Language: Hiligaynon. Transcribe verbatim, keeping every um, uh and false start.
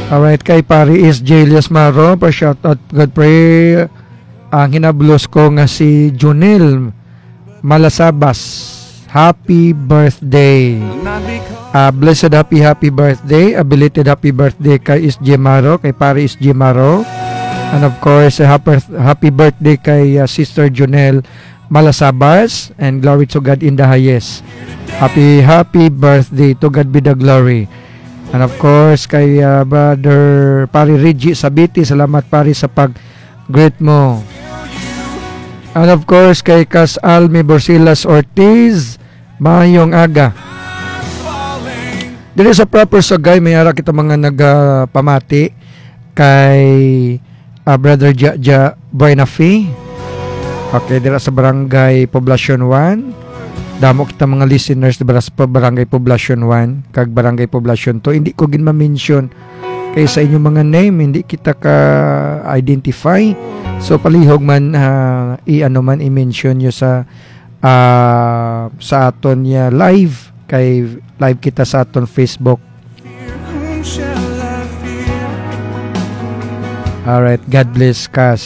Alright, kay Pari is Julius Maro, pa shoutout, God pray. Ang hinablos ko nga si Junel Malasabas. Happy birthday. Ah, blessed happy, happy birthday. A belated happy birthday kay S J Maro, kay Pari S J Maro. And of course, happy, happy birthday kay ah, Sister Junel Malasabas. And glory to God in the highest. Happy, happy birthday. To God be the glory. And of course, kay ah, Brother Pari Reggie Sabiti, salamat Pari sa pag-greet mo. And of course, kay Kas Almi Borsilas Ortiz, mayong aga. Diri sa proper Sugay, may ara kita mga nagapamati kay ah, Brother Jaja Buenafe. Okay, dira sa Barangay Poblacion one. Damo kita mga listeners dira sa pa-, Barangay Poblacion one kag Barangay Poblacion two. Hindi ko gin ma-mention kay sa inyong mga name, hindi kita ka-identify. So, palihog man, ah, i-ano man, i-mention nyo sa, ah, sa aton niya live. Kay live kita sa aton Facebook. Alright, God bless, Kas.